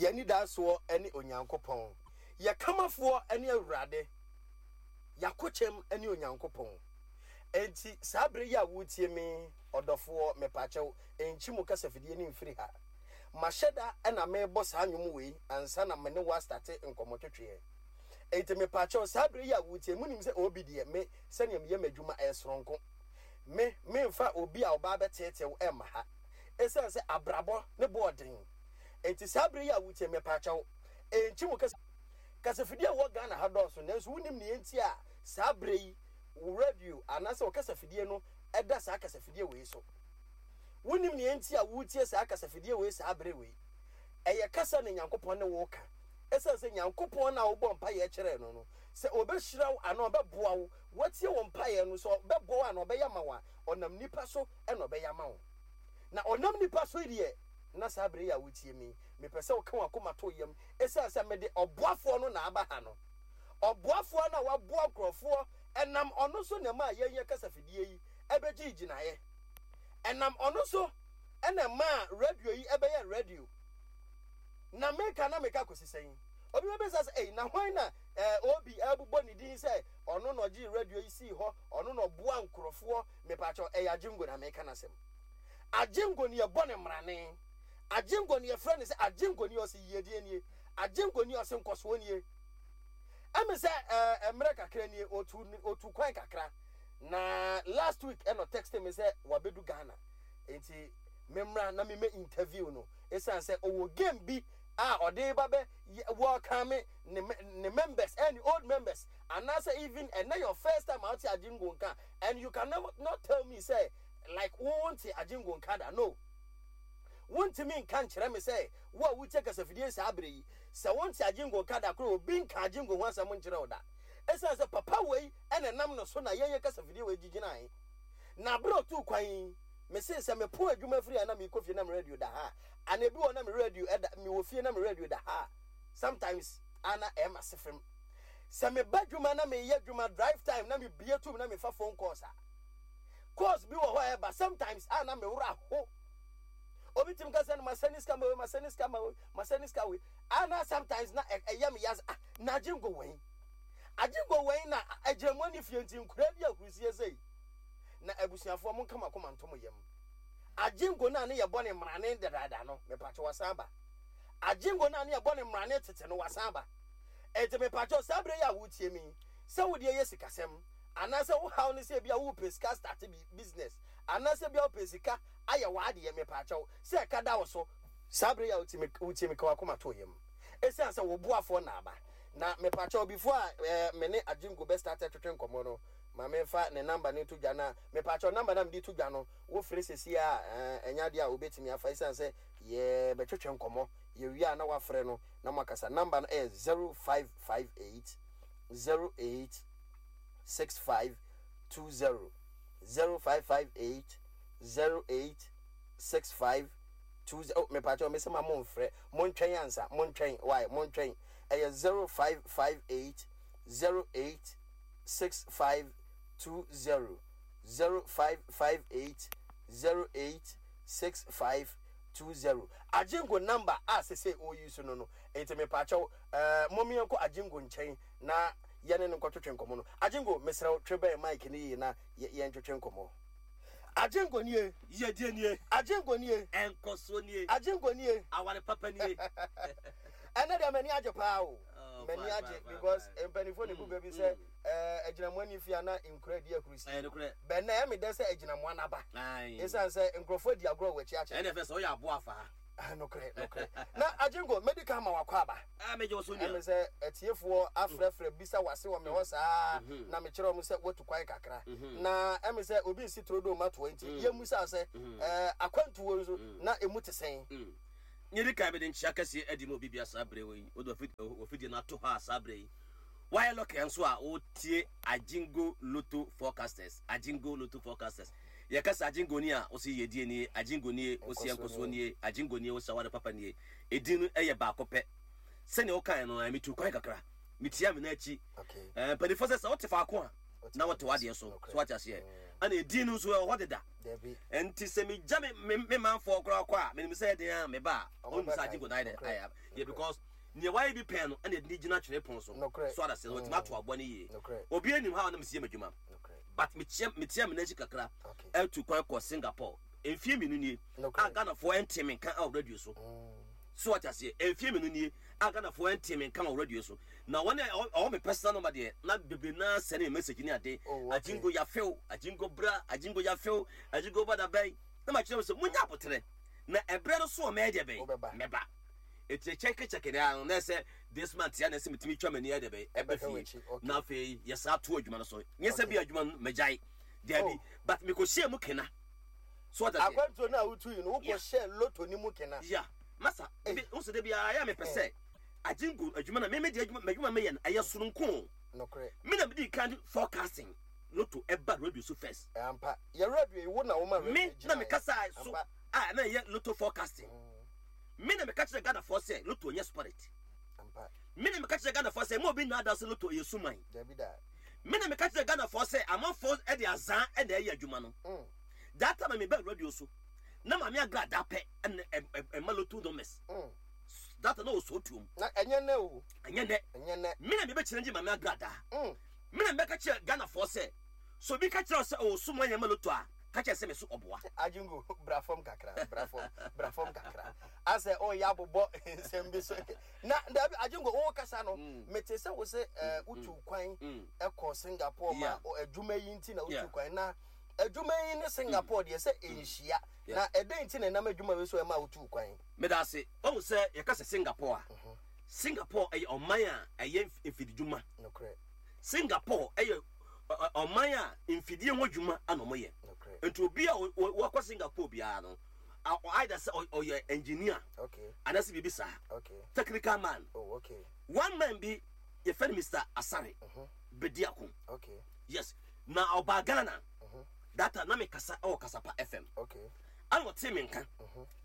Yɛn anidasoɔ ne Onyankopɔn. Yɛn kamafoɔ ne Awurade. Yɛn akokyɛm ne Onyankopɔn. Enti saa berɛ yi a woretie me, ɔdɔfoɔ, mepakyɛw, nkyi mo kasafidie no mfiri ha. Mahyɛ da na merebɔ saa nnwom wei ansa na me ne wo astate nkɔmmɔtwetweɛ. Enti mepakyɛw, saa berɛ yi a woretie, monim sɛ obi deɛ, me, sɛdeɛ meyɛ m'adwuma, ɛyɛ soronko. Me, memfa obi a ɔba abɛteetee wo mma ha. Esiane sɛ abrabɔ ne bo ɔden nti, saa bere yi a wotie me, mepakyɛw, nkyi mo kasa. Kasafidie a ɛwɔ Ghana ha dɔɔso, nanso wonim nea enti a saa bere yi wo radio anaasɛ wo kasafidie no da saa kasafidie wei so. Wonim nea enti a woretie saa kasafidie wei saa bere wei. Ɛyɛ kasa na Nyankopɔn ne wo reka. Esiane sɛ Nyankopɔn no a wobɔ mpaeɛ kyerɛɛ no no, sɛ ɔbɛhyira wo anaa ɔbɛboa wo, watie wo mpaeɛ no, sɛ ɔbɛboa wo anaa ɔbɛyɛ ama wo a, ɔnam nnipa so na ɔbɛyɛ ama wo. Na ɔnam nnipa so yi deɛ, na saa berɛ yi a wotie me yi, mepɛ sɛ woka w'akoma to wo yam, ɛsiane sɛ mede ɔboafoɔ no na aba ha no. Ɔboafoɔ no a waboa nkurɔfoɔ, ɛnam ɔno so na ɛmaa yɛn yɛn kasafidie yi bɛgyee gyinaeɛ. Ɛnam ɔno so na ɛmaa radio yi bɛyɛɛ radio. Na meka na meka kɔsi sɛn? Obi bɛbisa sɛ, ei, na hwan na eh, Obi ɛrebobɔ ne din sɛ ɔno na ɔgyee radio yi sii hɔ, ɔno na ɔboa nkurɔfoɔ? Mepakyɛw, ɛyɛ Agyengo na meka n'asɛm. Agyengo ne yɛbɔ no mmrane. Agyengo ne yɛfrɛ no sɛ Agyengo ni ɔse yiedie nie. Agyengo ni ɔse nkɔsoɔ nie. Ɛme sɛ ɛɛ mmerɛ kakra nie otu otu kwan kakra na last week ɛna ɔtexte me sɛ wabedu Ghana nti memmra na memmɛ interview no ɛsiane sɛ ɔwɔ game bi a ɔde ba bɛ welcome ne ne members ɛne old members anaasɛ even ɛnɛ your first time a wote Agyengo nka and you can never not tell me sɛ like wo wonte Agyengo nka da no wontumi nka nkyerɛ me sɛ wo a wotie kasafidie saa berɛ yi sɛ wonte Agyengo nka da koraa obi nka Agyengo ho asɛm nkyerɛ wo da ɛsiane sɛ papa wei ɛna ɛnam no so na yɛnyɛ kasafidie wei gyigyinae na berɛ ɔtuu kwan yi mese sɛ mepo adwuma firi a na mekɔ fie na me radio da ha ana ebi wɔ na me radio ɛda mewɔ fie na me radio da ha sometimes ana ɛma se fam Sɛ meba dwuma na meyɛ dwuma drive time na mebue tum na mefa phone calls a, calls bi wɔ hɔ a ɛba sometimes a na me werɛ aho. Obi tumi ka sɛ no masɛne sika ma wei, masɛne sika ma wei, masɛne sika wei. A na sometimes na ɛyɛ me ya sɛ ah na agye ngo wɛn. Agye ngo wɛn na agyinamoa ne fie nti nkoraa di ahurusie sei. Na abusuafoɔ monka mo akoma nto mo yam. Agye ngo no a ne yɛbɔ ne mmarane dadaada no, mepatwe wasan aba. Agye ngo no a ne yɛbɔ ne mmarane tete no wasan aba. Enti mepakyɛw, saa bere yi a woretie me yi, sɛ wo deɛ yɛ sikasɛm, anaasɛ wo haw ne sɛ ebia worepɛ sika astarte business, anaasɛ ebia wopɛ sika ayɛ w'adeɛ, mepakyɛw, sɛ ɛka da wo so, saa bere yi a wotie me, wotie me, ka w'akoma to wo yam, esiane sɛ wo boafoɔ na aba. Na mepakyɛw, before a eh, me ne Agyengo bɛ starte twetwe nkɔmmɔ no, ma memfa ne number no nto dwa na mepakyɛw, number no a mede to dwa no, wofrɛ sesie a, eh, ɛnyɛ adeɛ a wobɛtumi afa, esiane sɛ yɛbɛtwetwe nkɔmmɔ, yɛwie a na wafrɛ no, na moakasa. Number no yɛ 0558 08 6520. 0558 08 6520. Oh, mepakyɛw, mese ma momfrɛ. Montwɛn ansa. Montwɛn. Why? Montwɛn. Ɛyɛ 0558 08 6520. 0558 08 6520. Agyengo number a sesei o use no no nti mepaakyɛw eh mom yɛnkɔ Agyengo nkyɛn na yɛne no nkɔtwetwe nkɔmmɔ no. Agyengo mesrɛ wo twe bɛn mic no yie na yɛntwetwe nkɔmmɔ. Agyengo nie. Yiedie nie. Agyengo nie. Nkɔsoɔ nie. Agyengo nie. Aware papa nie. Ɛnɛ deɛ m'ani agye paa o. Oh, M'ani fine, agye fine, fine, because fine. mpanimfoɔ na ebu bɛ bi sɛ eh, agyinamoa ni fie a na nkura di ahurusi. Ɛyɛ nokorɛ. Bɛn na ɛyɛ me dɛ sɛ agyinamoa no aba. Ae. Esiane sɛ nkurɔfoɔ adi agorɔ wɔ w'akyi akyɛ. Ɛna ɛfɛ sɛ woyɛ aboa afaa. Ah, nokorɛ, nokorɛ. Na Agyengo, mɛdi kan ama wakɔ aba. Ah, megye wo so nua. Ɛme sɛ atiefoɔ afrɛfrɛ bisa w'ase wɔ me hɔ saa na mekyerɛ wɔn sɛ woatu kwan kakra. Na ɛme sɛ obi nsi turodoo ma toa nti, yɛmmisa sɛ, eh, akwantuo nso, na emu te sɛn? Nea edi kan, mede nkyia kɛseɛ adi ma obi bia saa berɛ yi. Wode w'afidie no ato hɔ a saa berɛ yi. Woayɛ lɔke nso a wotie Agyengo Lotto Forecasters. Agyengo Lotto Forecasters. Yɛka sɛ Agyengo ni a, wose yiedie nie, Agyengo nie, wose nkɔsoɔ nie, Agyengo nie, wose aware papa nie. Edin no yɛ baako pɛ. Sɛnea wokae no, metuu kwan kakra. Metia me nan akyi. Mpanimfoɔ sɛ sɛ wote faako a, Na wote w'adeɛ so. So wate aseɛ? Ɛna edin no nso ɛwɔ hɔ deda. Nti sɛ megya me me manfoɔ koraa kɔ a, menim sɛ ɛden a meba a, ɔnnu sɛ agye nkodaa dɛ. Ayɛ yɛ because nea wayɛ bi pɛn no ɛna ɛde ne gyina twene pon so. So ada sɛ wɔtumi ato aboa no yie. Obi anim ha a na mesi yɛ m'adwuma. But mekyia metia me n'akyi kakra ɛtu kwan kɔ Singapore. Mfie mmienu nie a Ghanafoɔ ɛnte me nka ɛwɔ radio so. So wate aseɛ? Mfie mmienu nie a Ghanafoɔ ɛnte me nka wɔ radio so. Na wɔn a ɛwɔ me personal number deɛ na bebree naa sɛne me message ne ade. Oh, okay. Agyingo yafew, agyingo bra, agyingo yafew, agyingo ba da bɛn. Na ma kyerɛ wɔn sɛ munya aboterɛ. Na ɛbrɛ no so a mɛyɛ deɛ bɛn? Mɛba. Eti kyɛke kyɛke na ano na ɛsɛ this month ya na ɛsɛ metumi twa m'ani ayɛ deɛ bɛn? Ɛbɛ fie. Na afei yɛsan to adwuma no so. Nyɛ sɛ bi adwuma no magyae. Dabi, oh. But mekɔhyɛɛ mu kena. So what I say? Akwantuo no a wotu yi no wokɔhyɛɛ loto no mu kena. Yeah. Masa, ebi nso de biara yɛ mepɛ sɛ agyengo adwuma na meme de adwuma m'adwuma meyɛ no ɛyɛ soronko. Nokorɛ. Me na medi kan forecasting loto ɛba radio so first. Ampa. Yɛ radio yi wo na woma radio Me na mekasa so a na ɛyɛ loto forecasting. Me na meka kyerɛ Ghanafoɔ sɛ loto nyɛ spirit. Ampa. Me na meka kyerɛ Ghanafoɔ sɛ mo obi nnaadaa sɛ loto ɛyɛ suman. Dabi da. Me na meka kyerɛ Ghanafoɔ sɛ amanfoɔ de azaa na ɛyɛ adwuma no. That time a mebaa radio so na Maame Agradaa pɛ na ɛma lotto numbers. That time na ɔsɔ tuom. Na ɛnyɛ nɛ o. Ɛnyɛ nɛ. Ɛnyɛ nɛ. Me na mebɛkyerɛ ngye Maame Agradaa. Me na mebɛka kyerɛ Ghanafoɔ sɛ sɛ obi ka kyerɛ wo sɛ ɔwɔ sum anyɛ ma lotto a, ka kyerɛ sɛ me so ɔboa. Ajingo, bra fam kakra, bra fam, bra fam kakra. Asɛ ɔyɛ abobɔ nsɛm bi so. Na dabi Ajingo wo kasa no, mete sɛ wo sɛ wotu kwan kɔ Singapore ma adwuma yi nti na wotu kwan na adwuma yi ne Singapore deɛ sɛ ɛnhyia. Na ɛdɛn nti na ɛnam adwuma wei so ɛma wotu kwan? Meda ase. Wahu sɛ yɛka sɛ Singapore a, Singapore ɛyɛ ɔman a ɛyɛ mfididwuma. Nokorɛ. Singapore ɛyɛ ɔman a mfidie ho adwuma na wɔyɛ. Nokorɛ. Nti obi a wakɔ Singapore biara no, either sɛ ɔyɛ engineer anaasɛ biribi saa, technical man. Oh, okay. One man bi yɛfrɛ no Mr. Asare Bediako. Yes. Na ɔbaa Ghana. That time na mekasa ɛwɔ Kasapa FM. Ana ɔtee me nka.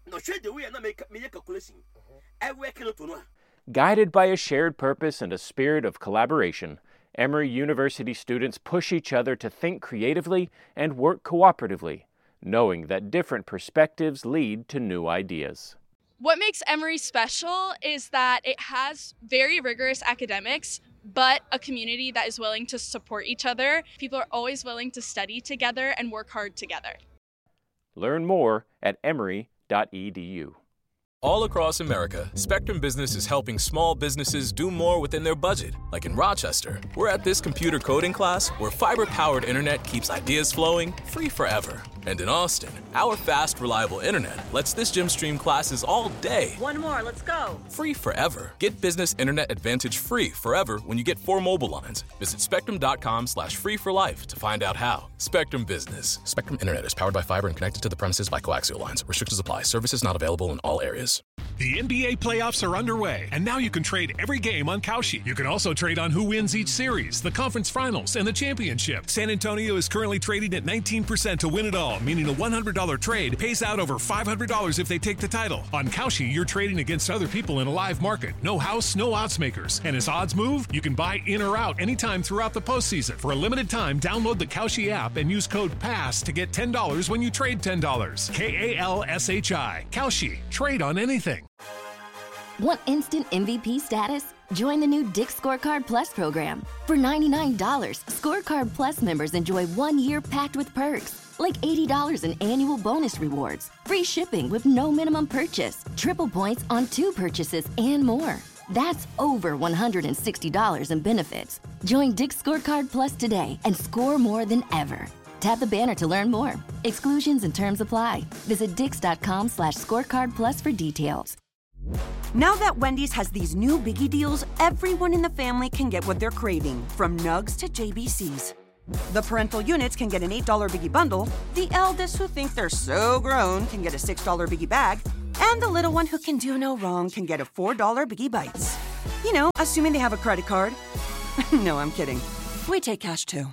Na ɔhwɛ the way a na meyɛ calculation. Ɛwɛ kele to no a. Guided by a shared purpose and a spirit of collaboration, Emory University students push each other to think creatively and work cooperatively, knowing that different perspectives lead to new ideas. What makes Emory special is that it has very rigorous academics, but a community that is willing to support each other. People are always willing to study together and work hard together. Learn more at emory.edu. All across America, Spectrum Business is helping small businesses do more within their budget. Like in Rochester, we're at this computer coding class where fiber-powered internet keeps ideas flowing free forever. And in Austin, our fast, reliable internet lets this gym stream classes all day. One more, let's go. Free forever. Get business internet advantage free forever when you get 4 mobile lines. Visit spectrum.com/free for life to find out how. Spectrum Business. Spectrum Internet is powered by fiber and connected to the premises by coaxial lines. Restrictions apply. Services not available in all areas. The NBA playoffs are underway, and now you can trade every game on Kalshi. You can also trade on who wins each series, the conference finals, and the championship. San Antonio is currently trading at 19% to win it all, meaning a $100 trade pays out over $500 if they take the title. On Kalshi, you're trading against other people in a live market. No house, no odds makers. And as odds move, you can buy in or out anytime throughout the postseason. For a limited time, download the Kalshi app and use code PASS to get $10 when you trade $10. K-A-L-S-H-I. Kalshi. Trade on anything. Want instant MVP status? Join the new Dick's Scorecard Plus program. For $99, Scorecard Plus members enjoy 1 year packed with perks, like $80 in annual bonus rewards, free shipping with no minimum purchase, triple points on 2 purchases, and more. That's over $160 in benefits. Join Dick's Scorecard Plus today and score more than ever. Tap the banner to learn more. Exclusions and terms apply. Visit dicks.com/scorecard plus for details. Now that Wendy's has these new biggie deals, everyone in the family can get what they're craving, from nugs to JBCs. The parental units can get an $8 biggie bundle, the eldest who think they're so grown can get a $6 biggie bag, and the little one who can do no wrong can get a $4 biggie bites. You know, assuming they have a credit card. No, I'm kidding. We take cash too.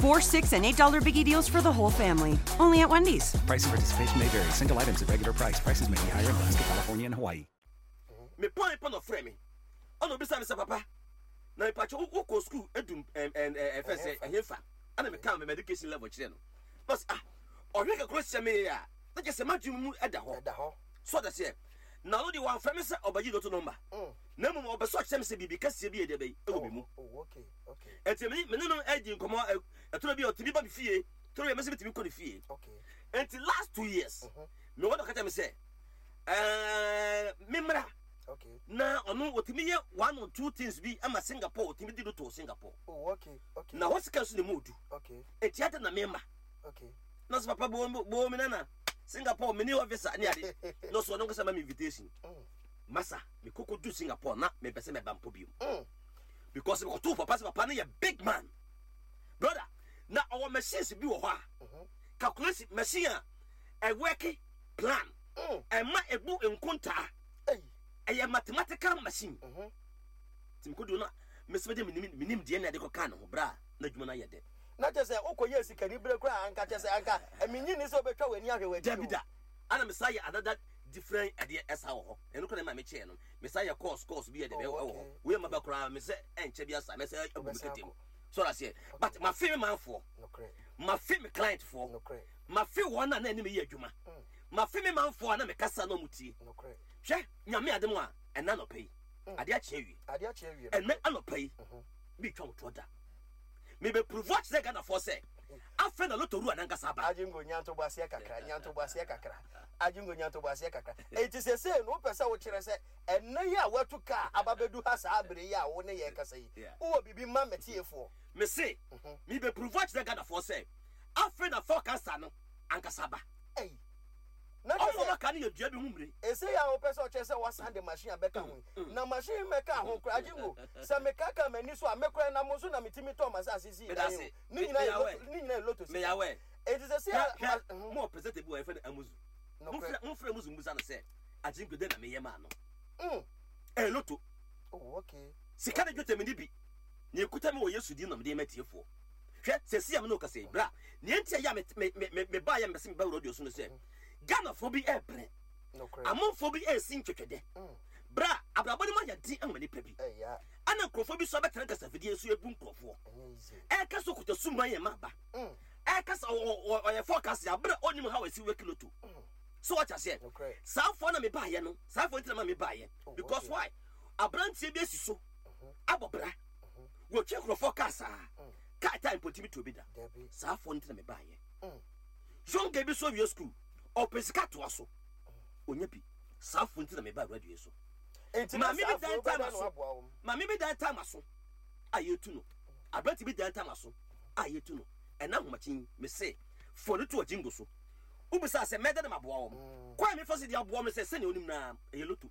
$4, $6, and $8 biggie deals for the whole family. Only at Wendy's. Price and participation may vary. Single items at regular price. Prices may be higher in Alaska, California, and Hawaii. Me pɔn pɔn ɔfrɛ me. Ɔna obisa me sɛ papa na mepatwa wokɔ sukuu edu ɛfɛ sɛ ɛhefa. Ɛna meka me education level kyerɛ no. Na ɔse ah, ɔhwɛ kakra hyɛ me a, na kyerɛ sɛ m'adwene mu ɛda hɔ. Ɛda hɔ. So ɔda seɛ. Na ɔno deɛ wamfrɛ me sɛ ɔbɛgye lotto number. Na mmom ɔpɛ sɛ ɔkyerɛ me sɛ biribi kɛseɛ bi yɛ deɛ bɛyi ɛwɔ me mu. Oh, okay, okay. Ɛnti me ne no ɛdi nkɔmmɔ, ɛtɔrɔ bi a ɔtumi ba me fie, tɔrɔ bi a mɛsɛ metumi kɔ ne fie. Okay. Ɛnti last 2 years, me wɔ na ɔka kyerɛ me sɛ, ɛɛ, me mmra. Okay. Na ɔno ɔtumi yɛ one or two things bi ama Singapore, ɔtumi di lotto wɔ Singapore. Oh, okay, okay. Na hɔ sika nso na emu odu. Okay. Eti adi na mema. Okay. Na sɛ papa bo bo mi nana Singapore mini officer ne ade. Na ɔsɔ ɔno nkasa ma mi invitation. Masa me koko du Singapore na me pɛ sɛ mɛba mpo bio. Because me kɔto papa sɛ papa no yɛ big man. Brother, na ɔwɔ machines bi wɔ hɔ a calculation machine a ɛwɔke plan. Ɛma ebu nkontaa. Ɛyɛ mathematical machine. Nti mekodu no mese mede menim deɛ na ɛde kɔkaa ne ho berɛ a na adwuma no ayɛ dɛ. Na kyerɛ sɛ wokɔyɛɛ sikani berɛ koraa anka kyerɛ sɛ anka menyi nni sɛ wobɛtwa w'ani ahwɛ w'akyi o. Dabi da. Ana mesa yɛ another different ɛdeɛ ɛsa wɔ hɔ. Ɛno koraa na ɛma mekyɛɛ no. Mesa yɛ course course bi yɛ dɛ ɛwɔ hɔ. Wei maba koraa mesɛ ɛnkyɛ bi asa mɛsɛ agu me kɛtɛ mu. So ɔda aseɛ. But mafe me manfoɔ. Mafe me client foɔ. Mafe wɔn a na ɛne me yɛ adwuma. Mafe me manfoɔ a na mekasa na wɔn tie. Hwɛ Nyame adom a ɛna anɔpa yi. Adeɛ akye awie. Adeɛ akye awie. Ɛnɛ anɔpa yi bi twa wotoɔ da. Mebɛpuruvu akyerɛ Ghanafoɔ sɛ afei na lotto wura nankasa aba. Agyengo nya ntoboaseɛ kakra, nya ntoboaseɛ kakra. Agyengo nya ntoboaseɛ kakra. Enti sesei no wopɛ sɛ wokyerɛ sɛ ɛnnɛ yi a woatu kaa aba bɛdu ha saa bere yi a wo ne yɛn rekasa yi, wowɔ biribi ma m'atiefoɔ? Mese mebɛpuruvu akyerɛ Ghanafoɔ sɛ afei na forecaster no ankasa aba. Ei! Na kyerɛ Ɔmo sɛ. aka no yɛ dua bi ho mmire. Ese yi a wopɛ sɛ ɔkyerɛ sɛ wasan de machine abɛka ho yi, na machine mmɛkaa ho koraa, Agyengo, sɛ mekaakaa m'ani so a, me koraa nam so na metumi tɔɔ m'asase sii dan yi o. Ne nyinaa yɛ lotto, ne nyinaa yɛ lotto sika. Enti sɛsei a, ma, Hwɛ, mowɔ presenter bi wɔ hɔ yɛfrɛ no Amuzu. Nokorɛ. Momfrɛ, momfrɛ Amuzu mmisa no sɛ, Agyengo, dɛn na meyɛ maa no? Mm. Ɛyɛ lotto. Oh, okay. Sika ne dwetɛ menni bi. Nea ekuta me wɔ Yesu din na mede rema atiefoɔ. Hwɛ, seesei a me ne wo kasa yi, bra. Nea enti a ɛyɛ a me, me, me, me, mebaeɛ a mepɛ sɛ meba radio so ne sɛ, Ghanafoɔ bi rebrɛ. Amanfoɔ bi resi ntwɛtwɛdɛ. Bra, abrabɔ no mu ayɛ den ama nnipa bi. Ɛna nkurɔfoɔ bi nso abɛtena kasafidie so abu nkurɔfoɔ. Ɛreka sɛ ɔkuta suman yɛ ma aba. Ɛreka sɛ ɔyɛ forecast abere a ɔnnim how ɛsi work lotto. So wate aseɛ? Saa foɔ na mebaeɛ no, saa foɔ nti na ma mebaeɛ. Because why? Aberanteɛ bi asi so abɔ bra. Wɔtwe nkurɔfoɔ kaa saa. Kaa taa mpo ntumi to obi da. Saa foɔ nti na mebaeɛ. Young girl bi so awie school, ɔpɛ sika toa so, onya bi. Saa fo nti na meba radio so. Enti na Maame bi saa dan fo time wobɛda no aso. aboa wɔn. Maame bi dan time aso a yɛtu no. Aberante bi dan time aso a yɛtu no. Ɛna ahomakye yi, mese fo no to agyingo so. Wobisa sɛ mɛda no maboa wɔn. Kwan a mefa so de aboa wɔn sɛ sɛnea onim na ɛyɛ loto.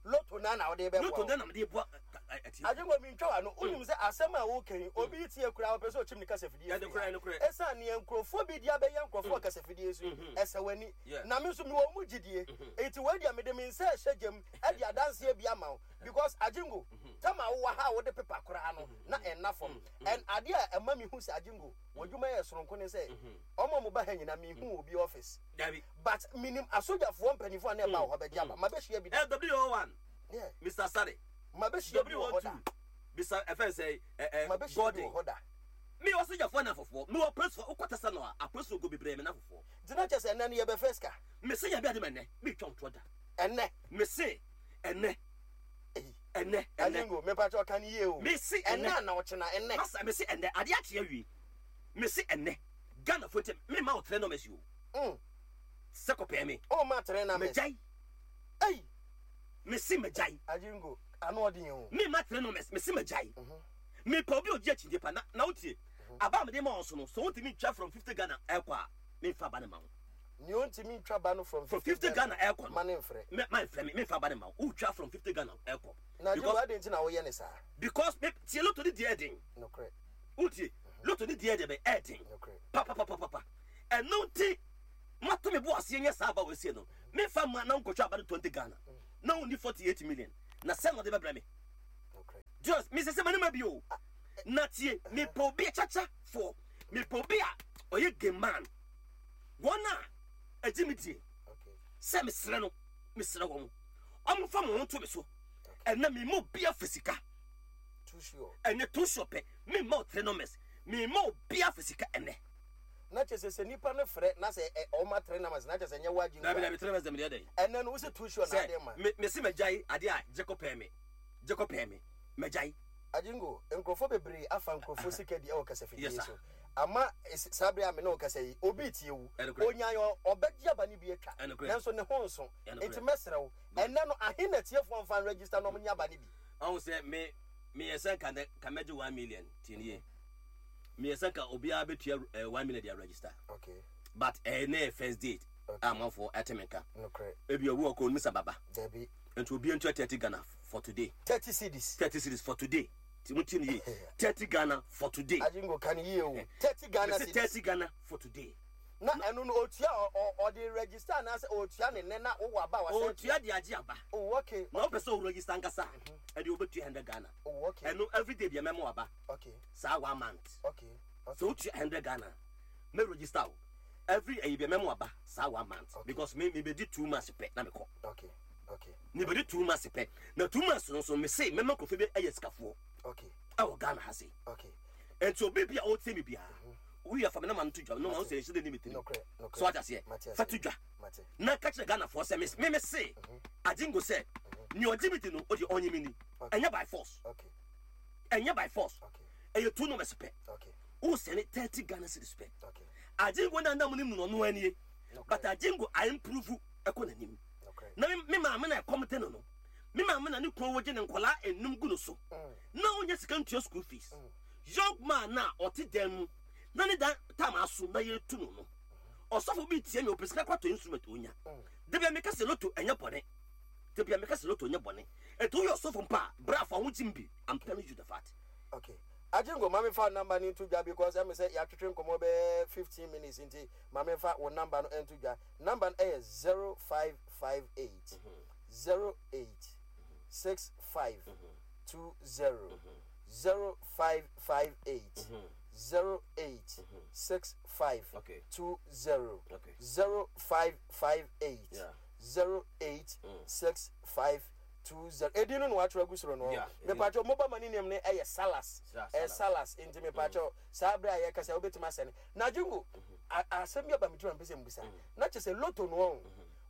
Loto na na wode bɛboa Loto wɔn. na na mede boa atiefo. Agyengo mintwa w'ano. Wonim sɛ asɛm a woka yi, obi tie koraa ɔpɛ sɛ ɔkyim ne kasafidie firi ha. Ɛsiane nea nkurɔfoɔ bi de abɛyɛ nkurɔfoɔ wɔ kasafidie so yi, ɛsɛ w'ani. Na me nso mewɔ mu gyidie. Enti wei deɛ mede me nsa rehyɛ gya mu de adanseɛ bi ama wo. Because Agyengo, tam a wowɔ ha a wode pepa koraa no, na ɛnna fam. And adeɛ a ɛma mehu sɛ Agyengo, w'adwuma yɛ soronko ne sɛ, wɔn a wɔba ha nyinaa, menhuu obi office. But menim asogyafoɔ mpanimfoɔ a na ɛba wɔ hɔ bɛgye aba. Mabɛhyia bi da. LW01, Yeah. Mr. Sare. Mabɛhyia bi wɔ hɔ da. W02, Mr. Ɛfɛn sɛ Mabɛhyia bi Gordon. wɔ hɔ da. Me wɔ sogyafoɔ na afofoɔ. Me wɔ apolisifoɔ. Wokɔ tasa no a, apolisifoɔ go bebree me na afofoɔ. Nti na kyerɛ sɛ ɛnnɛ no yɛbɛfa sika. Mese nyame ade ma ɛnnɛ. Metwa ntorɔ da. Ɛnnɛ. Mese ɛnnɛ. Ei. Ɛnnɛ. Ɛnnɛ. Alingo, mepa kyɛw ka no yie o. Mese Ɛnnɛ ɛnnɛ. anaa ɔkyena? Ɛnnɛ. Masa, mese ɛnnɛ. Adeɛ akye awie. Mese ɛnnɛ. Ghanafoɔ nti, memma wo three numbers yi o. Sɛ kɔpɛɛ me. Womma three numbers. Magyae. Ei. Mese magyae. Alingo, ano ɔden o. Memma three numbers. Mese magyae. Mepɛ obi a ɔgye akyinnye pa. Na, na wotie. Aba a mede ma wo so no, sɛ wontumi ntwa from 50 Ghana ɛkɔ a, memfa aba no mma wo. Nea ɔntumi ntwa ba no from From 50 50 Ghana, Ghana ɛkɔ no, ma no mfrɛ. me, ma mfrɛ me, memfa aba no mma wo. Wotwa from 50 Ghana ɛkɔ. Na Agyingo, Because, adɛn nti na woyɛ no saa? because me, tie lotto ne deɛ ɛden. Nokorɛ. Wotie, lotto ne deɛ ɛdeɛ bɛn, ɛden. Nokorɛ. Papapapapa. Ɛno nti, mato me bo aseɛ nyɛ saa aba wɔ esie no. Memfa mma na wonkɔtwa aba no 20 Ghana. Na wonni 48 million. Na sɛn na ɔde bɛbrɛ me? Nokorɛ. Just, mesɛ sɛ m'anim abi o. Na tie, mepɛ obi a kyakyafoɔ. Mepɛ obi a ɔyɛ game man. Wɔn a ɛgye me die sɛ mesrɛ no, mesrɛ wɔn. Wɔmfa mo ho nto me so. Ɛnɛ mema obi afa sika. Too sure. Ɛnɛ too sure pɛ. Memma wo three numbers. Mema obiara fa sika ɛnɛ. Na kyerɛ sɛ sɛ nipa no frɛ na sɛ ɛ ɔma three numbers na kyerɛ sɛ ɛnyɛ wo agye Dabi nkwa. dabi three numbers deɛ mede yɛ dɛn? Ɛnɛ no wose too sure na ade Sɛ ma. me mese magyae adeɛ a gye kɔ pɛɛ me gye kɔ pɛɛ me magyae. Agyingo, nkurɔfoɔ bebree afa nkurɔfoɔ sika di ɛwɔ kasafidie Yes sir. so. Ama saa bere a me ne wo kasa yi, obi retie wo. Ɛnokorɛ. Onyae ɔ ɔbɛgye aba no bi atwa. Ɛnokorɛ. Nanso ne ho nso. Ɛnokorɛ. Nti mɛsrɛ wo, Good. ɛnɛ no ahe na atiefoɔ mfa nregister na wɔnyɛ aba no bi? Ɔhu sɛ me meyɛ sɛ nka nɛ nka mɛgye 1 million tie nie meyɛ sɛ nka obiara bɛtua 1 million de register Okay. but ɛyɛ ne yɛ first date Okay. a amanfoɔ ɛte me nka Nokorɛ. ebi obi wɔ kɔ onim sɛ baba Dabi. nti obiara ntua 30 Ghana for today. 30 cedis. 30 cedis for today, ti mo tie ne yie, 30 Ghana for today. Agyingo ka ne yie o. 30 Ghana Mese cedis. 30 Ghana for today. Na ɛno no otua ɔ ɔ ɔde register anaasɛ otua ne nɛ na wowɔ aba a wasan Otua de agye aba. Oh okay. Na wopɛ sɛ o register ankasa a, ɛde wobɛtua 100 Ghana. Oh okay. Ɛno everyday bia mɛma waba. Okay. Saa one month. Okay. Sɛ wotua 100 Ghana mɛ register wo every ɛyi bia mɛma waba saa one month. Okay. Because me mebɛdi 2 months pɛ na mekɔ. Okay. Okay. Mebɛdi 2 months pɛ na 2 months no nso mese mɛma nkurɔfoɔ bi ɛyɛ sikafoɔ Okay. ɛwɔ Ghana ha sei. Okay. Nti obi bia ɔtie me biara woyɛ fa me nama no to dwa no ma wo sɛ ɛhyɛ dɛ ni me tirim. Nokorɛ. Nokorɛ. So wate aseɛ, Mate fa aseɛ. to dwa Mate. na ka kyerɛ Ghanafoɔ sɛ me me se Agyingo sɛ nea ɔgye me di no ɔdeɛ ɔnye me ni. Ɛnyɛ by force. Okay. Ɛnyɛ by force. Okay. Ɛyɛ two numbers pɛ. Okay. Wo sɛne 30 Ghana cedis pɛ. Okay. Agyingo na nam nim no no ɔno anie. Nokorɛ. But Agyingo I improve ɛkɔ n'anim. Nokorɛ. Na me maame na ɛkɔm de no, me maame na ne kunu wogye ne nkɔlaa enum gu no so na ɔnyɛ sika ntua school fees. Young man na ɔte dan mu na ne dan tam aso na yɛtu no, ɔsɔfo bi tie me, ɔpɛ sika kɔtɔ instrument onya. Da bia meka sɛ lotto ɛnyɛ bɔne, da bia meka sɛ lotto ɛnyɛ bɔne. Ɛnti woyɛ ɔsɔfo mpa a, bra fa ho gyim bi. I'm telling you the fact. Okay. Agyingo, ma memfa number no nto dwa because ɛme sɛ yɛatwetwe nkɔmmɔ bɛyɛ 15 minutes nti ma memfa wo number no nto dwa. Number no ɛyɛ 0558 08 65 20 0558 08 65 20 0558 08 65 20. Edin no na wɔatwerɛ agu soro no. Mepakyɛw, mobile money name no ɛyɛ Salas. Ɛyɛ Salas nti mepakyɛw saa bere a yɛkasa wobɛtumi asɛne. Na Jingo, asɛm bi aba me tirim a mepɛ sɛ mebisa. Na kyerɛ sɛ lotto no ɔn,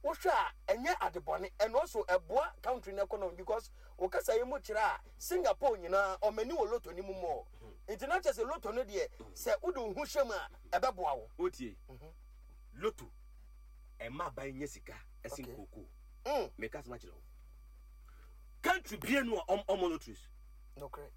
wohwɛ a ɛnyɛ ade bɔne and also ɛboa country no economy because wo kasa yi mu kyerɛ a Singapore nyinaa ɔmani wɔ lotto no mu more. Nti na kyerɛ sɛ lotto no deɛ sɛ wode wo ho hyɛ mu a ɛbɛboa wo. Wotie, lotto ɛma aban nya sika ɛsen kookoo. Meka asɛm akyerɛ wo. Country bie no a ɔmɔ lotteries. Nokorɛ.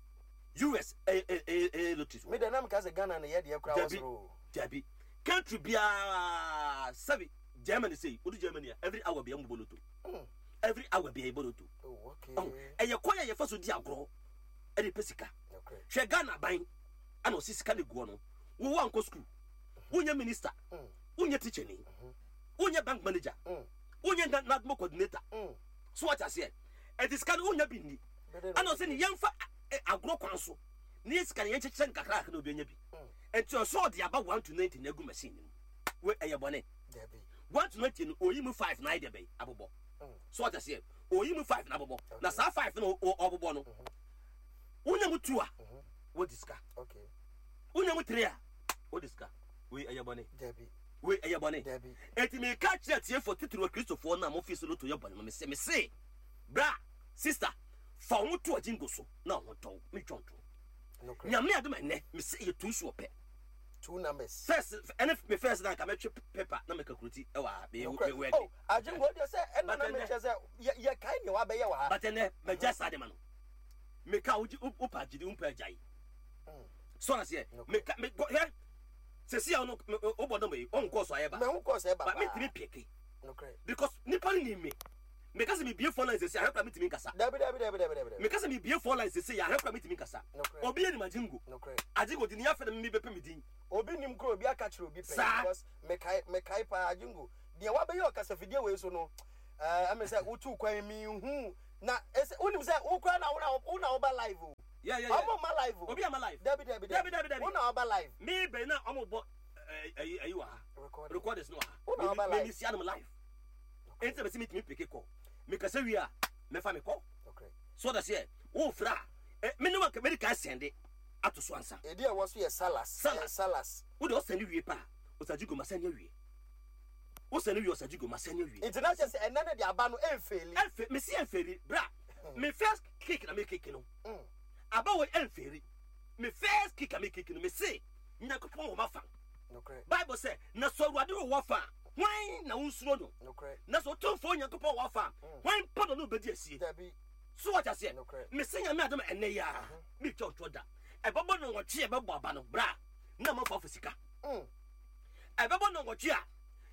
US ɛyɛ lotteries. Me deɛ na meka sɛ Ghana no yɛ deɛ koraa wɔ soro. Dabi. Country biara sɛbi Germany sei, wodu Germany a every hour bia mbobɔ lotto. Every hour bia yɛbɔ lotto. Oh, okay. Ɛyɛ kwan a yɛfa so di agorɔ ɛde pɛ sika. Hwɛ Ghana aban ana ɔsi sika ne guɔ no. Wo wankɔ school, wonyɛ minister, wonyɛ teacher ni, wonyɛ bank manager, wonyɛ NADMO coordinator. So what aseɛ? Ɛnti sika no wonya bi nni. Ana ɔsɛ ne yɛmfa agorɔ kwan so ne yɛ sika no yɛnkyekyɛ no kakra kakra na obi anya bi. Ɛnti ɔsɛ ɔde aba 1 to 90 na agu machine no mu. We ɛyɛ bɔne. 1 to 90 no oyi mu 5 na ayɛ dɛ bɛyi abobɔ. So what aseɛ? Oyi mu 5 na abobɔ. Na saa 5 no ɔbobɔ no, wonya mu 2 a wodi sika. Wonya mu 3 a wodi sika. Wei ɛyɛ bɔne. Wei ɛyɛ bɔne. Enti meka kyerɛ atiefoɔ titiriw Akristofoɔ no a mofi so loto yɛ bɔne no, mese, mese, bra, sister, fa wo ho to Agyingo so na wo ho ntɔ wo. Mentwa wo ntorɔ. Nyame adom ɛnnɛ, mese ɛyɛ two so ɔpɛ. Two numbers. First, ɛne me first na nka mɛtwe paper na meka kuroti ɛwɔ ha. Me Nokorɛ. me wɛde. Oh, Agyingo deɛ sɛ ɛna But na ɛnnɛ, mekyerɛ sɛ yɛ yɛkae nea wabɛyɛ wɔ ha. But ɛnnɛ, magya saa de ma no. Meka wogye wopɛ agyedi wompɛ agyae. So aseɛ, meka me hwɛ sɛsi a ɔno wobɔ dɔm yi ɔnkɔɔ so ayɛ ba. Mɛho kɔɔ so ɛba But mentumi peke. Because nipa no nim me. Meka sɛ mebie phone line sɛsi ahwɛ kora mentumi nkasa. Dabi dabi dabi dabi dabi. Meka sɛ mebie phone line sɛsi ahwɛ kora mentumi nkasa. Obi anim Agyingo. Agyingo di ne afɛ na me bɛpɛ me din. Obi nim kora obi aka kyerɛ obi pɛn because mekae mekae paa Agyingo. Deɛ wabɛyɛ ɔkasafidie wei so no ɛɛ ɛmɛ sɛ wotu kwan mi hu na ɛsɛ wonim sɛ wo kora na wo na woba live o. Yeah, yeah, yeah. Ɔmo ma live o. Obi ama live. Dabi dabi dabi. Dabi dabi. Wo na woba live. Me bɛn na ɔmo bɔ ɛyi ɛyi wɔ ha. Recording. Recorders no wɔ ha. Wo na woba live. Me mi si anum live. Enti na bɛsi mi tumi peke kɔ. Me kasa wie a mɛfa me kɔ. Okay. So ɔda seɛ wo fira ɛ me ne wa mɛ de ka sɛnde. ato so ansa. Edin a ɛwɔ so yɛ Salas. Salas. Salas. Wode ɔsɛne wie pɛ a, Ɔsagyigo masɛne awie. Wosɛne wie Ɔsagyigo masɛne awie. Nti na kyerɛ sɛ ɛnɛ no de aba no ɛnfeeli. Ɛnfe, mese ɛnfeeli. Bra, me first kick na me kick no. Aba wei ɛnfeeli. Me first kick a me kick no, mese Nyankopɔn wɔ m'afa. Bible sɛ, na sɛ Awurade wɔ w'afa a, hwan na wonsuro no? Na sɛ Otumfoɔ Nyankopɔn wɔ w'afa a, hwan mpo na ɔne wo bɛdi asie? So wate aseɛ? Mese Nyame adom a ɛnnɛ yi ara, meretwa ntorɔ da. Ɛbɛbɔ nnɔnwɔtwe a yɛbɛbɔ aba no, bra na amanfoɔ afa sika. Ɛbɛbɔ nnɔnwɔtwe a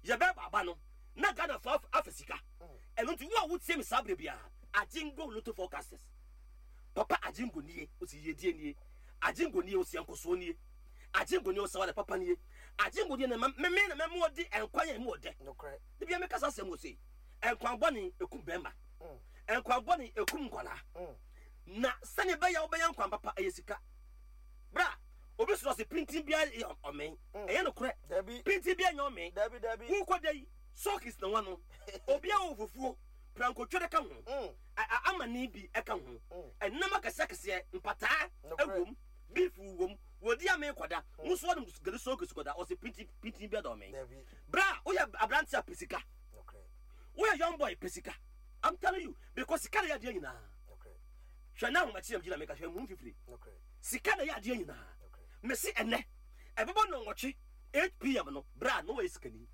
yɛbɛbɔ aba no, na Ghanafoɔ afa sika. Ɛno nti, wo a wotie me saa berɛ biara, Agyengo Lotto Forecasters, Papa Agyengo nie, ɔsi yiedie nie. Agyengo nie, ɔsi nkɔsoɔ nie. Agyengo nie, ɔsi aware papa nie. Agyengo nie, na me na mɛma ɔdi nkwa yɛn mu ɔdɛ. Da biara meka saa asɛm wɔ sei. Nkwa bɔne ɛkum bɛrima. Nkwa bɔne ɛkum nkwadaa. Na sɛnea ɛbɛyɛ a wobɛnya nkwa papa ɛyɛ sika. Bra, obi soro ɔse pintin biara yɛ ɔmee. Ɛyɛ nokorɛ. Pintin biara nyɛ ɔmee. Wokɔ da yi, sokis na wano. Obiara wɔ fufuo, prankotwere ka ho, amane bi ka ho, ɛnam akɛseɛ akɛseɛ, mpataa ɛwom, beef wom, wɔdi amee kɔda. Wo nso wɔnom gari sokis kɔda, ɔse pintin pintin biara da ɔmee. Bra, woyɛ aberante a pɛ sika. Woyɛ young boy pɛ sika. I'm telling you, because sika na ɛyɛ adeɛ nyinaa. Hwɛ na ahomakye na megyina meka hwɛ mu mfifiri. Sika na ɛyɛ adeɛ nyinaa. Mese ɛnɛ, ɛbɛbɔ nnɔnwɔtwe 8 pm no, bra na wɔyɛ sikani.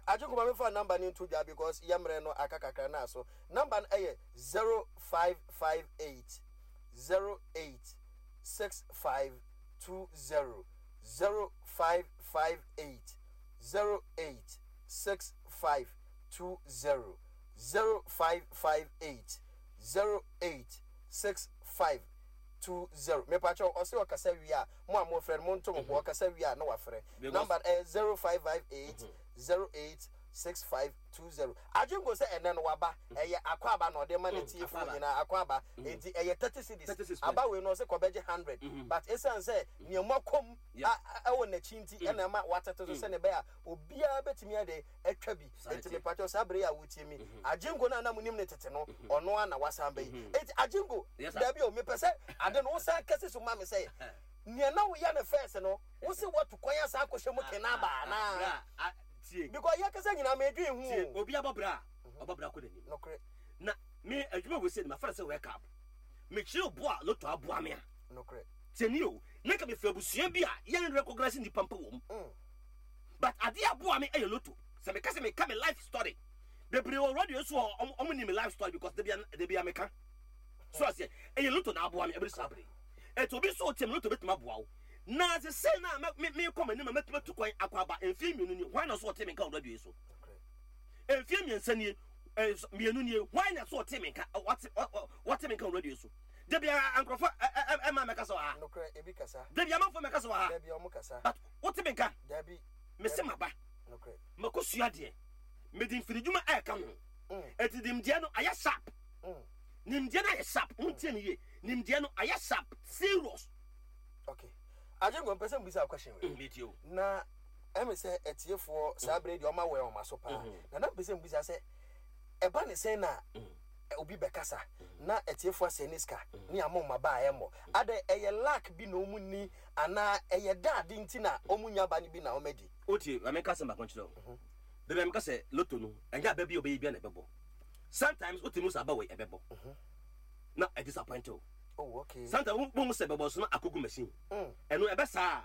Agyenkwa ma memfa number no nto dwa because yɛ mmerɛ no aka kakra na aso. Number no ɛyɛ 0558 08 6520 0558 08 6520 0558 08 6520 Mepakyɛw ɔse ɔkasa wie a mo a mofrɛ no monto mo bo ɔkasa wie a na wafrɛ Number no ɛyɛ 0558 08 6520 Adwenko sɛ ɛnɛ no waba ɛyɛ akwaaba na ɔde ma n'atiefoɔ nyinaa akwaaba enti ɛyɛ 30 cedis aba wei no ɔse kɔbɛgye 100 but esiane sɛ nea moakɔ mu ɛwɔ n'akyi nti ɛna ɛma watete so sɛnea ɛbɛyɛ a obiara bɛtumi ayɛ dɛn atwa bi. Enti mepakyɛw saa bere yi a wotie me, Agyenko no a na munim no tete no, ɔno ara na wasan ba yi. Enti Agyenko, dabi o, mepɛ sɛ ade no wosan kɛse so ma me sɛ, nea na woyɛ no first no, wose woatu kwan asan akɔhyɛ mu kena aba anaa? Because yɛkasa nyinaa medwen ho o. Obi abɔ bra a, ɔbɔ bra kɔ n'anim. Nokorɛ. Na me adwuma wei sei no, mafa no sɛ wake up. Mekyerɛ obo a lotto aboa me a. Nokorɛ. Tie nie o, na nka mefiri abusua bi a yɛn recognize nnipa mpo wɔ mu. But adeɛ a aboa me yɛ lotto. Sɛ meka sɛ meka me life story bebree wɔ radio so hɔ ɔmo ɔmo nim me life story because debia debia meka. So aseɛ ɛyɛ lotto na aboa me ɛbɛdu saa bere yi. Ɛti obi nso ɔtie me lotto bɛtumi aboa wo. Na sesei na me me mekɔ m'anim a mɛtumi atu kwan akɔ aba mfie mmienu nie hwan na ɔso ɔte me nka wɔ radio yi so? Mfie mmiɛnsa nie mmienu nie hwan na so ɔte me nka wɔte wɔte me nka wɔ radio yi so? Debia nkurɔfoɔ ɛma mɛkasa wɔ ha. Nokorɛ ebi kasa. Debia amanfoɔ mɛkasa wɔ ha. Debia ɔmo kasa. But Wote me nka? Dabi. Mese maba. Nokorɛ. Makɔsua adeɛ. Mede mfiridwuma ɛreka ho. Enti nimdeɛ no ayɛ sharp. Nimdeɛ no ayɛ sharp. Montie me yie. Nimdeɛ no ayɛ sharp. Serious. Okay. Agyenkwa, mpɛ sɛ mbisa wo question wei. Metie o. Na ɛme sɛ atiefoɔ saa berɛ yi deɛ ɔma wɛn wɔn aso paa. Na na mpɛ sɛ mbisa sɛ ɛba ne sɛn na obi bɛkasa na atiefo asɛe ne sika ne ama wɔn aba a ɛmmɔ. Adɛn, ɛyɛ luck bi na wɔn nni anaa ɛyɛ dɛ ade nti na wɔn nnya aba no bi na wɔn adi? Wotie, ma menka asɛm baako nkyerɛ wo. Da bi a meka sɛ lotto no, ɛnyɛ aba bi a wobɛyɛ biara na ɛbɛbɔ. Sometimes wote mu sɛ aba wei ɛbɛbɔ na ɛdisappoint wo. Oh, okay. Sometimes wohu sɛ ɛbɛbɔ nso na akɔgu machine. Ɛno ɛbɛ saa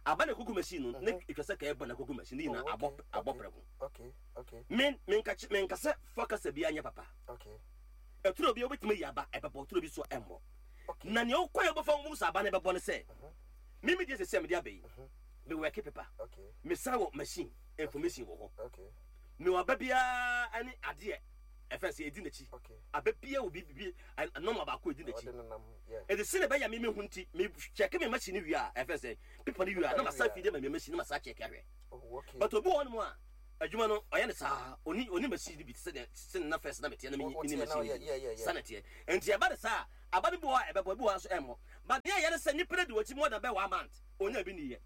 a, aba na ɛkɔgu machine no, na ɛtwa sɛ ka ɛbɔ na ɛkɔgu machine ne nyinaa abɔ abɔ prɛko. Okay, okay. Me menka menka sɛ fa kasa biara nyɛ papa. Okay. Ɛtoro bi wobɛtumi ayi aba ɛbɛbɔ, toro bi so ɛmmɔ. Okay. Na nea wokɔ yɛ wobɛfa wo sɛ aba no ɛbɛbɔ no sɛ, me me deɛ sɛ sɛ mede aba yi, me work paper, Okay. mesan wɔ machine information wɔ hɔ. Okay. Mewɔ aba biara ne adeɛ ɛfɛ sɛ ɛdi n'akyi. Okay. Aba biara wɔ biribi nɔma baako ɛdi n'akyi. Ɔde nenam, yeah. Ɛde sɛ na ɛbɛyɛ me mehu nti, me check me machine wie a ɛfɛ sɛ paper no wie a na masan fidie ma me machine na masan check ahwɛ. Oh, okay. But obi wɔ hɔnom a adwuma no ɔyɛ no saa oni oni machine no bi te sɛ deɛ sɛ na first na meteɛ na menni Woteɛ na machine no woyɛ bi yeah yeah no saa yeah. na ɛteɛ nti ɛba no saa a aba no bi wɔ hɔ a ɛbɛbɔ ebi wɔ hɔ nso ɛmmɔ but nea ɛyɛ ne sɛ nipa no di w'akyi more than bɛyɛ one month onya bi nniyɛ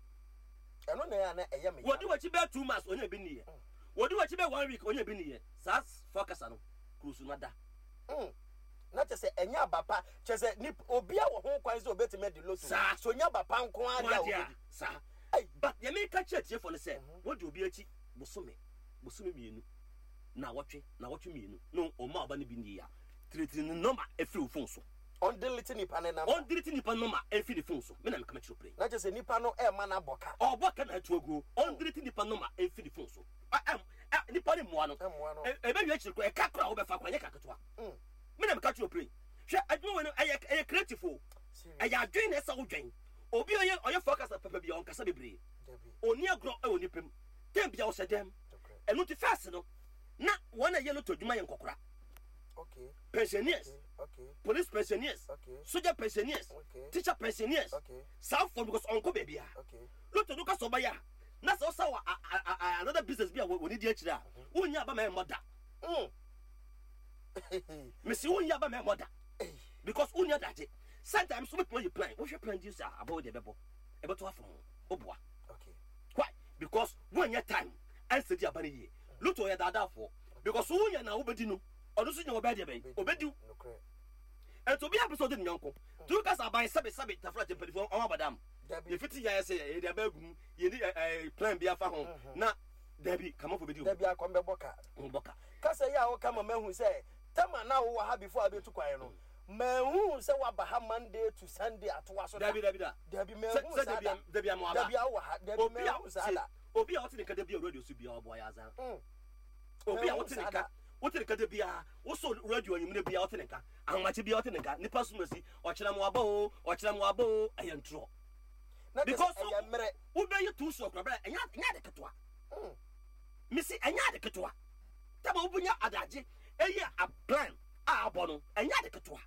Ɛno na ɛyɛ a na ɛyɛ me ya wɔdi no. w'akyi bɛyɛ 2 months onya bi nniyɛ wɔdi w'akyi bɛyɛ one week onya bi nniyɛ saa fɔ kasa no kurusu no ada. Mm. Na kyerɛ sɛ ɛnyɛ aba. aba pa kyerɛ sɛ nip obia wɔ ho kwan sɛ obetumi adi lotto. Saa. So nya aba pa nko ara deɛ a Nko ara deɛ a, obedi. saa. Ei. But deɛ meka kyerɛ atiefoɔ ne sɛ, wɔdi obi akyi bosome, bosome mmienu, naawɔtwe, naawɔtwe mmienu, na ɔmma ɔba no bi nni a, tiritiri ne nɔma firi wo phone so. Ɔndelete nipa ne nɔma. Ɔndelete nipa nɔma mfiri ne phone so. Me na meka mekyerɛ wo pere. Na kyerɛ sɛ nipa no ɛrema no abɔ ka. Ɔrebɔ ka na atu aguo. Ɔndelete nipa nɔma mfiri ne phone so. Ɛ ɛ ɛ nipa no mmoa no. Mmoa no. Ɛ ɛbɛwie akyiri koraa ɛka koraa a wobɛfa koraa ɛnyɛ ka ketewa. Me na meka kyerɛ wo pere. Hwɛ adwuma wei no ɛyɛ ɛyɛ creative o. Serious. Ɛyɛ adwene na ɛsɛ wodwen. Obi a ɔyɛ ɔyɛ forecaster papa bi a ɔnkasa bebree. Dabi. Ɔnni agorɔ wɔ nipa mu. Tɛm biara ɔhyɛ dɛm. Nokorɛ. Ɛno nti first no na wɔn a ɛyɛ lotto adwuma yɛ nkɔkora. Okay. Pensioners. Okay. Okay. Police pensioners. Okay. Soldier pensioners. Okay. Teacher pensioners. Okay. Saa fɔ because ɔnkɔ baabi a. Okay. Lotto no ka sɛ ɔbɛyɛ a na sɛ ɔsa wɔ another business bi a wɔn di akyire a wonnya aba ma ɛmmɔ da. Mesi wonnya aba ma ɛmmɔ da because wonnya adagye. Sometimes wobɛtumi ayi plan wohwɛ plan di sɛ abɔ wo deɛ ɛbɛbɔ ɛbɛto afam woboa. Okay. Why? Because wonnya time ɛnsɛ di aba no yie. Lotto yɛ daadaafoɔ because wonya na wobɛdi no ɔno nso nya wɔbɛyɛ deɛ bɛn obɛdi wo. Ɛnti obi apɛ sɛ ɔdi ne yɔnko. Nti woka sɛ aban sɛbe sɛbe tafra gye mpanimfoɔ ɔmo abadam. Yɛfiti yɛ sɛ yɛde aba agum yɛni ɛɛ plan bi afa ho na dabi kamafo bɛdi Dabi akɔm bɛbɔ ka. Bɔ ka. Kasa yi a woka ma mahu sɛ tɛma na wowɔ ha before abɛtu kwan no manhu sɛ woaba ha Monday to Sunday atoa so da. Dabi dabi da. Dabi manhu saa da. Dabi ama waba. Dabi a wowɔ ha dabi manhu saa da. Obi a ɔte ne nka da bi a radio so biara ɔboa yɛ azan. Obi a wote ne nka wote ne nka da biara wosɔ radio anwummerɛ biara wote ne nka ahomakye biara wote ne nka nipa som asi ɔkyerɛ mo aba o ɔkyerɛ mo aba o ɛyɛ ntorɔ. Because wobɛyɛ too sure koraa ɛnyɛ ɛnyɛ ade ketewa. Mesi ɛnyɛ ade ketewa. Tama wobɛnya adagye ɛyɛ a plan a abɔ no ɛnyɛ ade ketewa.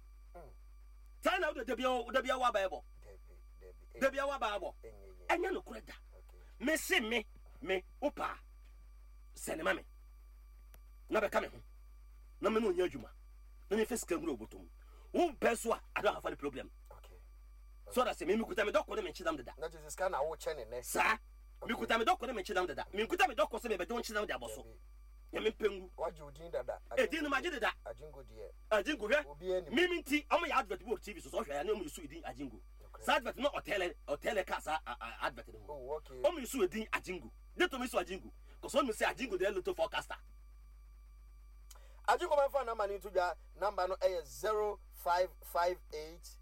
Saa na wode dabia dabia waba ɛbɔ. Dabia waba ɛbɔ. Ɛnyɛ nokorɛ da. Mesi me me wopaa sɛne ma me na bɛka me ho na me ne onyɛ adwuma na mefa sika nwura obotom wo pɛ so a I don't have any problem so that sɛ me mekuta me dɔkɔ ne me nkyenam deda na kyerɛ sika na wokyɛ ne nɛ saa mekuta me dɔkɔ ne me nkyenam deda menkuta me dɔkɔ sɛ mebɛgye wo nkyenam de abɔ so na mempɛ ngu wagye wo din dada edin no magye deda Agyingo deɛ Agyingo hwɛ mimi nti ɔmo yɛ advert bi wɔ TV so sɛ ɔhwɛ ya ne ɔmo yɛ so edin Agyingo saa advert no ɔtɛlɛ ɔtɛlɛ ka saa advert no ho ɔmo yɛ so edin Agyingo de to me so Agyingo kɔsɔ ɔmo sɛ Agyingo deɛ lotto forecaster. Agyingo mɛmfa number no nto dwa number no ɛyɛ 0558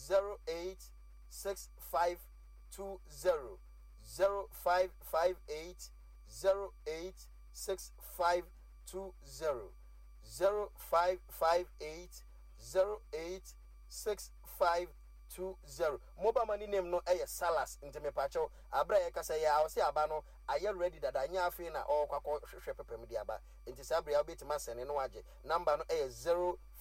08 6520 0558 08 6520 0558 08 6520 Mobile money name no ɛyɛ Salas nti mepakyɛw Aberɛ a yɛkasa yi ara ɔse aba no ayɛ ready dada nyɛ afei na ɔɔkɔ akɔ hwehwɛ pɛpɛ mu de aba nti saa berɛ yi wobɛtumi asɛne na wagye number no yɛ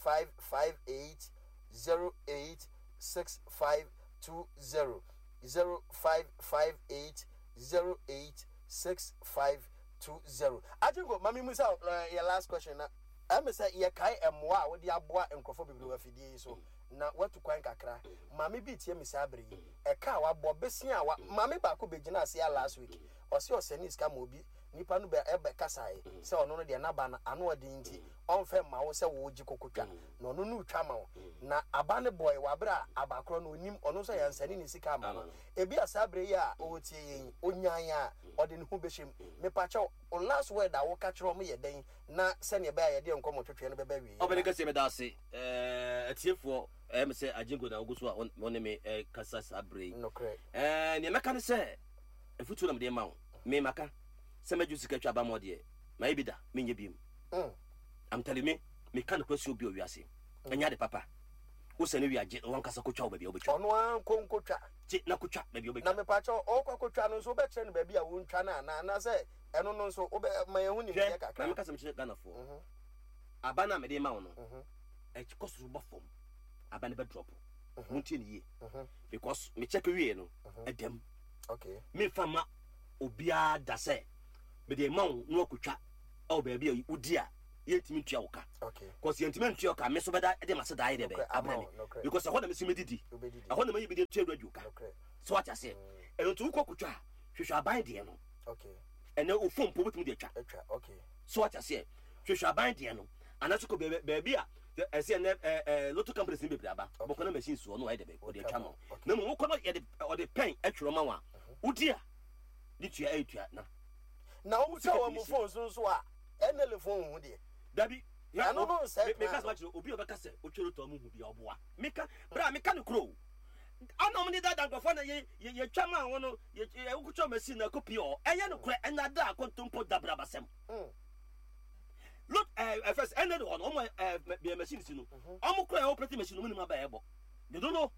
0558 08 6520 0558 08 6520 Agyenko ma me musa wo yɛ last question na ɛme sɛ yɛkae mmoa a wode aboa nkurɔfoɔ bebree wɔ afidie yi so na watu kwan kakra. Maame bi retie me saa bere yi. Ɛka a wabɔ, besia a wa, maame baako begyinaa ase a last week. Ɔse ɔsɛnee sika ma obi, nipa no bɛ ɛbɛ kasae sɛ ɔno no deɛ n'aba no ano ɔden nti ɔnfɛ mma wo sɛ wo gye kɔkɔtwa na ɔno no retwa ma wo. Na aba no bɔe wɔ abere a aba korɔ no onim, ɔno nso yɛansɛne ne sika amma no. Ebia saa bere yi a ɔretie yɛn yi, onyae a ɔde ne ho bɛhyɛ mu. Mepakyɛw, wo last word a woka kyerɛ wɔn yɛ dɛn na sɛnea ɛbɛyɛ a yɛde yɛn nkɔmmɔtwetwe no bɛba awieeɛ Ɔbɛne na. kɛseɛ meda ase. Ɛɛ atiefoɔ, ɛyɛ me sɛ Agyenko na wogu so a wo ne me kasa saa berɛ yi. Nokorɛ. Ɛɛ nea mɛka ne sɛ, afutuo na mede rema wo. Me maka sɛ mɛgye wo sika atwa aba ma wo deɛ, mayɛ bi da, menyɛ biom. I'm telling me, meka nokorɛ sɛ obi wɔ wiase, ɛnyɛ ade papa. Wosane wie a, gye na wankasa kɔtwa wo baabi a wobɛtwa. Ɔno ara nkɔ nkɔtwa. Gye na kɔtwa baabi a wobɛtwa. Na mepakyɛw, ɔrekɔ akɔtwa no nso, wobɛkyerɛ no baabi a wɔntwa no anaa? Anaasɛ ɛno no nso, wobɛ, ma yɛn ho nimdeɛ Hwɛ, kakra. ma menka asɛm nkyerɛ Ghanafoɔ. Aba no a mede rema wo no, ɛkɔ soro ba fam, aba no bɛ drop. Montie no yie. Because me check wie no, ɛdam. Memfa ma obiara da sɛ mede ma wo na wakɔtwa ɛwɔ baabi a wodi a yɛntumi ntua wo ka. Because yɛntumi ntua wo ka, me nso bɛda de m'ase daa yɛ dɛ bɛn abrɛ me. Because ɛhɔ na mesi medidi. Ɛhɔ na mayi bi de tua radio ka. So wate aseɛ? Ɛno nti wokɔ kɔtwa a, hwehwɛ aban deɛ no. Ɛnɛ wo phone mpo wobɛtumi de atwa. So wate aseɛ? Hwehwɛ aban deɛ no anaasɛ kɔ baabi a. Ɛsɛ ɛnɛ ɛɛ ɛɛ lotto companies ni bebree aba. Bɔkɔ na machine soɔ no ayɛ dɛbɛ ɔde atwa ma wo. Na mmom wokɔ no yɛde ɔde pɛn atwerɛ ma wo a wodi a de tua ɛyɛ tua na. Na wotwa wɔn mo phone so nso a NLA phone ho deɛ. Dabi. Ɛno no nsɛ plan. Meka sɛ makyerɛ obi a ɔbɛka sɛ otwa lotto a ɔmo hu bi a ɔboa. Meka bra meka no koro o. Ana ɔmo de dada nkurɔfoɔ na yɛ yɛ yɛtwa maa wɔn no yɛ yɛ wokotwa machine na ɛkɔ pii ɔ ɛyɛ no korɛ ɛna da akontompo dabrabasɛm. Look ɛɛ ɛfɛ sɛ ɛna de hɔ no ɔmo ɛɛ bea machine si no ɔmo kora ɛwɔ operating machine ɔmo nim aba ɛbɔ they don't know.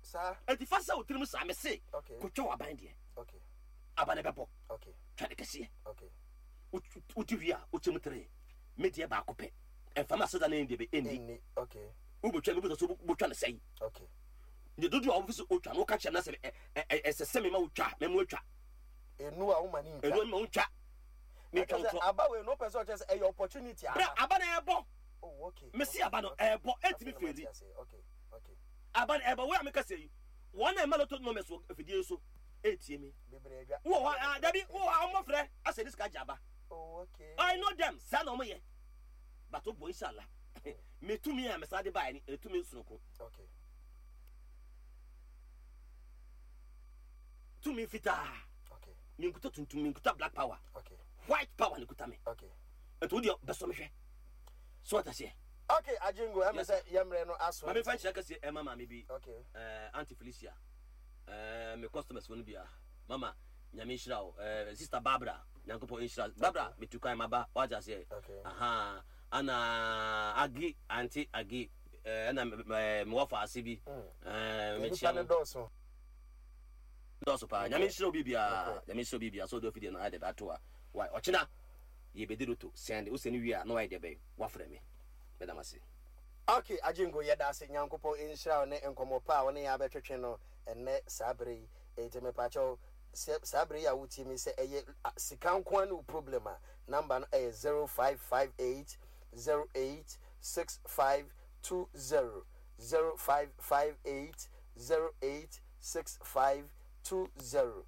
Saa. Eti fa sɛ otirim saa mɛ se kotwa wɔ aban deɛ aba ne bɛbɔ twa ne kɛseɛ wodi wie a wokyɛ mu tere me deɛ baako pɛ ɛnfa ma aseda ne deɛ bɛ ɛnni wobɛtwa mi bɛtɔ so wobɛtwa ne sɛyi ne dodoɔ a wɔfi so otwa no woka kyerɛ me na sɛ ɛsɛ sɛ mema wotwa mɛmo atwa enu a woma ne ntwa enu ma wontwa metwa wo torɔ. Aba wei no wopɛ sɛ ɔkyerɛ sɛ ɛyɛ opportunity aba. Bra aba na ɛbɔ. Oh okay. Mesi aba no ɛbɔ ɛntumi feli. Aba no ɛbɔ wei a meka sɛ yi wɔn a ɛma lotto numbers wɔ afidie so ɛretie me. Wowɔ hɔ a dabi wowɔ hɔ a wɔn frɛ asɛ ne sika gye aba. Oh okay. I know them saa na wɔn yɛ but wobɔ inshallah me tumi a mesan de baeɛ no ɛtumi sononko. Okay. Tumi fitaa. Menkuta tuntum, menkuta black power. White power na ekuta me. Nti wo deɛ bɛsɔ me hwɛ. So wate aseɛ? Okay, Ajingo, ɛmɛ sɛ yɛmmerɛ no aso. Maame fa nhyira kɛseɛ ɛma maame bi. Okay. Auntie Felicia. Me customers fo no bia. Mama, nyame nhyira wo. Sister Barbara, Nyankopɔn nhyira. Barbara, metu kwan maba. Wate aseɛ? Okay. Aha. Ana Agi, Auntie Agi. Ɛna mewɔ faase bi. Mekyia mo. Dɔɔso paa. Nyame nhyira obi biara. Nyame nhyira obi biara. Sɛ ɔde afidie no ayɛ dɛ bɛ ato a. Wai ɔkyena yɛ bɛdi loto. Sɛnde wo sɛne wie a na wayɛ dɛ bɛn wafrɛ me. Meda mo ase. Ok Agyengo yɛdase Nyankopɔn nhyira wo ne nkɔmɔ pa a wo ne yɛn abɛtwetwe no ɛnnɛ saa bere yi. Enti mepakyɛw sɛ saa bere yi a wotie me yi sɛ ɛyɛ sika nko ara ne wo problem a number no ɛyɛ 0558 08 6520 0558 08 6520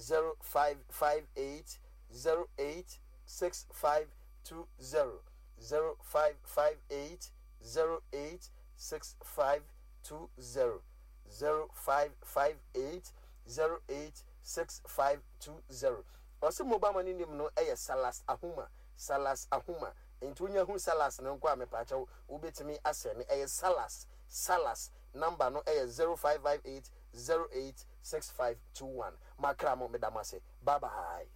0558 08 6520 0558 08 6520 0558 08 6520 Ɔse mobile money name no yɛ Salas Ahuma Salas Ahuma nti wonya hu Salas no nko a mepaakyɛw wobɛtumi asɛne ɛyɛ Salas Salas Number no yɛ 0558 08 6521. Makra mo, meda mo ase. Bye bye.